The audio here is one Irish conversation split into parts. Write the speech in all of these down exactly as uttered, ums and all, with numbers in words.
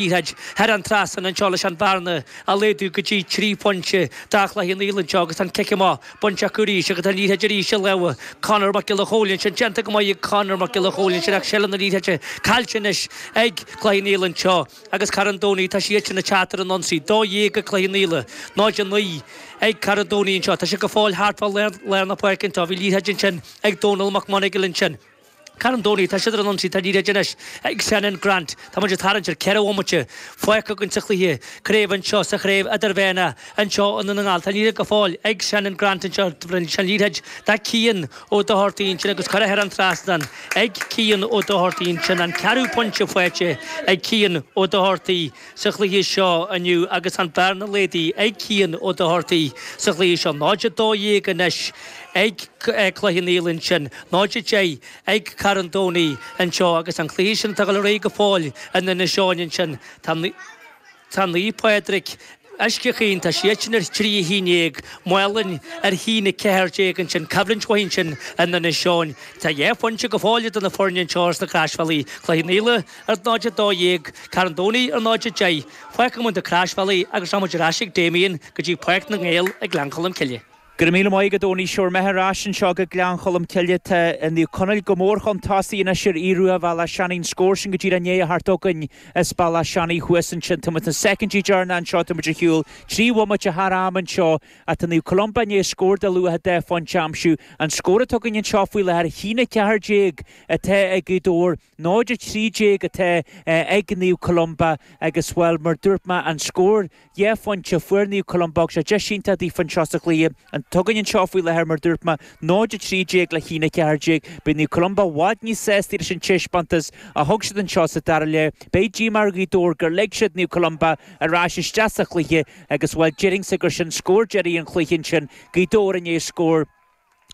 Liathróid thar an trasnán anseo leis an bhearna a laghdú go dtí trí phointe do Chloich Cheann Fhaola anseo agus an cic amach bainte acu arís agus an liathróid arís i lámha Conor Mac Giolla Chóill ansin déanta go maith ag Conor Mac Giolla Chóill ansin ach seilbh na liathróide caillte anois ag Cloich Cheann Fhaola anseo agus Carn Domhnaigh tá siad sin ag teacht ar an ionsaí dó dhéag ag Cloich Cheann Fhaola náid a naoi ag Carn Domhnaigh anseo tá sé go fóill thart fá lár na páirce anseo bhí liathróid ansin ag Dónal Mac Monagail ansin. Carn Domhnaigh, tá siad ar an ionsaí, tá liathróid anois ag Senan Grant. Tá muid ag tarraingt ar ceithre bhomaite fágtha againn sa chluiche craoibhe anseo sa chraobh idirmheánach anseo i nDún na nGall. Tá liathróid go fóill ag Senan Grant anseo, bhronn sé an liathróid do Cian Ó Dochartaigh ansin agus curtha thar an trasnán ag Cian Ó Dochartaigh ansin, an ceathrú pointe faighte ag Cian Ó Dochartaigh sa chluiche seo inniu agus an bearna laghdaithe ag Cian Ó Dochartaigh sa chluiche seo. náid a dó dhéag anois ag Cloich Cheann Fhaola ansin, náid a deich ag Carn Domhnaigh anseo agus an cluiche sin atá ag dul ar aghaidh go fóill in Inis Eoghain ansin. Tá Tá Naomh Pádraig, Uisce Chaoin, tá siad sin ar trí a haon déag, Málainn ar haon a ceathair déag ansin, coimhlint mhaith ansin in Inis Eoghain. Tá dhá phointe go fóill idir na foirne anseo ar sna Croisbhealaí, Cloich Cheann Fhaola ar náid a dó dhéag, Carn Domhnaigh ar náid a deich. Fágfaidh muid na Croisbhealaí agus rachaidh muid ar ais ag Damien go dtí Páirc na nGael ag Gleann Cholm Cille. Go raibh míle maith agat a Tony, sure mé ar ais anseo go Gleann Cholm Cille. Tá Naomh Conaill go mór chun tosaigh anois ar Aodh Rua Bhealach Seanaidh. An scór sin go díreach i ndiaidh a theacht chugainn as Bealach Seanaidh thuas ansin. Tá muid sna soicindí deireanacha anseo, tá muid ar shiúl trí bhomaite thar am anseo ach tá Naomh Columba i ndiaidh scór de luach dhá phointe a aimsiú. An scór atá againn anseo faoi láthair, a haon a ceathair déag atá ag Gaoth Dobhair, náid a trí déag atá ag Naomh Columba agus, bhuel, mar dúirt mé, an scór dhá phointe a fuair Naomh Columba agus sé deis iontach daofa anseo sa chluiche. Atá againn anseo faoi láthair, mar dúirt mé, náid a trí déag le haon a ceathair déag. Beidh Naomh Columba i bhfad níos sásta leis an taispeántas a thug siad anseo sa dara leath. Beidh díomá ar Ghaoth Dobhair gur lig siad Naomh Columba ar ais isteach sa chluiche agus, bhuel, déarfainnse gur sin scór deiridh an chluiche ansin, Gaoth Dobhair i ndiaidh scór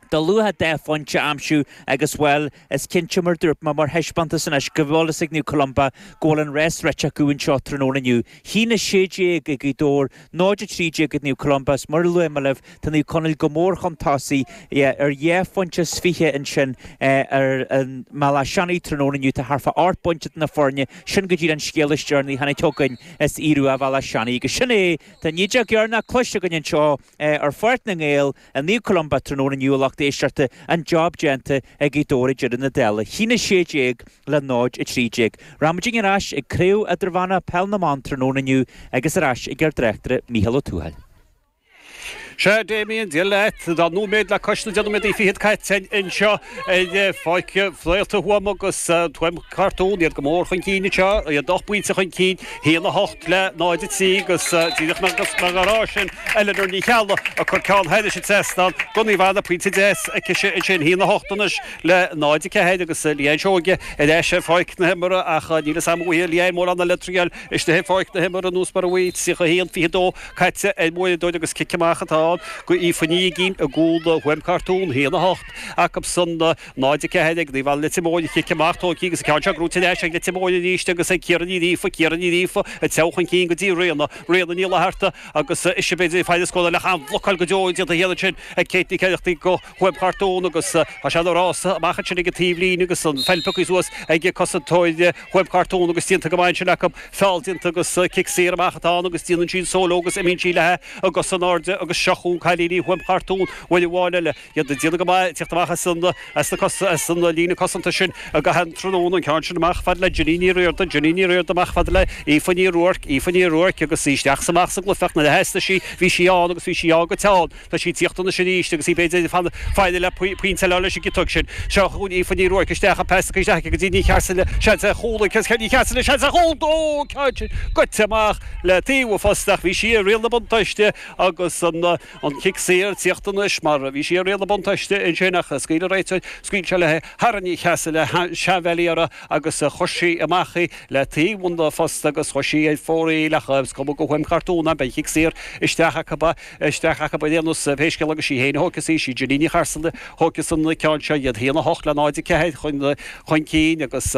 de luach dhá phointe a aimsiú agus, bhuel, is cinnte, mar dúirt mé, mar thaispeántas anois go bhfuil fhios ag Naomh Columba go bhfuil an rás rite acu anseo tráthnóna inniu. Haon a sé déag ag Gaoth Dobhair, náid a trí déag ag Naomh Columba is mar a luaigh mé libh, tá Naomh Conaill go mór chun tosaigh ar dhá phointe is fiche ansin ar an mBealach Seanaidh tráthnóna inniu. Tá thart fá ocht bpointe idir na foirne, sin go díreach an scéal is deireanaí a tháinig chugainn as Aodh Rua Bhealach Seanaidh agus sin é, tá an fheadóg dheireanach cloiste againn anseo ar Pháirc na nGael i Naomh Columba tráthnóna inniu a lucht éisteachta, an job déanta ag Gaoth Dobhair ag deireadh na dála, haon a sé déag le náid a trí déag. Rachaimid ar ais ag Craobh Idirmheánach Peil na mBan tráthnóna inniu agus ar ais ag ár dtráchtaire Mícheál Ó Tuathail. Sea, Damien, Dia leat. Tá nóiméad le cois na deich nóiméadaí fichead caite anseo ar Pháirc Réalta Thuama agus Tuaim Cartún, iad go mór chun cinn anseo, iad ocht bpointe chun cinn, haon a hocht le náid a trí agus díreach mar a rá sin Eleanor Ní Cheallaigh ag cur ceann thairis an trasnán do Naomh Anna, pointe deas aicise ansin, haon a hocht anois le náid a ceathair agus Leanne Seoige ar ais ar pháirc na himeartha ach níl fhios a'm an bhfaighidh Leanne mórán eile triail istigh ar pháirc na himeartha anuas mar a bhí tríocha a haon fiche a dó caite ar an uaireadóir agus cic amach atá ann go Aoife Ní Uiginn i gcúl Thuaim Cartún, a haon a hocht acu san, náid a ceathair ag Naomh Anna Leitir Móir, cic amach tógtha agus an ceann seo gnóite ar ais ag Leitir Móir arís agus ag Ciara Ní Ghríofa, Ciara Ní Ghríofa ag treabhadh chun cinn go dtí Ríona, Ríona Ní Fhlatharta agus ise b'fhéidir ag faire an scóráil ach an-bhlocáil go deo déanta thiar ansin ag Kate Nic Oireachtaigh go Thuaim Chartún agus tá sé ina rása amach ansin ag an taobhlíne agus an pheil pioctha suas ag cosantóir Thuaim Chartún agus déanta go maith ansin acu, feall déanta agus cic saor amach atá ann agus déanann sí an solo agus imíonn sí léi a gcosa in airde agus seo chugainn cailíní Thuaim Chartún uair amháin eile. Iad ag déanamh go maith ag tíocht amach as an as na cosa as an líne cosanta sin i gcaitheamh an tráthnóna, an ceann sin amach fad le Ginny Ní Riordain, Ginny Ní Riordain amach fad le Aoife Ní Ruairc, Aoife Ní Ruairc agus í isteach is amach sa gcluiche ach nuair a theastaigh sí bhí sí ann agus bhí sí ann go teann. Tá sí ag tíocht anois arís agus í b'fhéidir ag faire le pointe eile leis an gciotóg sin. Seo chugainn Aoife Ní Ruairc isteach, an pas isteach aici go dtí Ní Chearsala, seans ar chúl ag Ní Chearsala, seans ar chúl! Ó, ceann sin goite amach le taobh an phosta ach bhí sí i riail na buntáiste agus an an cic saor ag tíocht anois mar bhí sí i riail na buntáiste ansin ach scaoil an réiteoir, scaoil sé léi thar Ní Chearsala, seanbhealaí uirthi agus chuir sí amach í le taobh an phosta agus chuir sí ar fóraoil ach is cuma go Thuaim Chartún beidh an cic saor isteach acu. Isteach acu ar aon nós, pé scéal agus sí féin a thógfas í, sí Ginny Ní Chearsala a thógfas an ceann seo, iad a haon a hocht le náid a ceathair chun cinn agus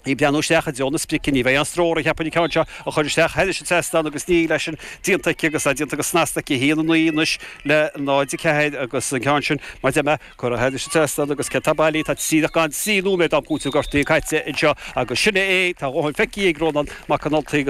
Í breathnú isteach i dtreo na sprice, ní bheidh aon stró uirthi, cheapfainn, an ceann seo a chur isteach thairis an trasnán agus níl leis sin déanta aici agus é déanta go snasta aici, a haon a naoi anois le náid a ceathair agus an ceann sin, mar a deir mé, curtha thairis an trasnán agus céard tá bailí, tá díreach gan trí nóiméad d'am cúitimh gortaithe caite anseo agus sin é, tá a dhóthain feicthe ag Rónán Mac an Ultaigh agus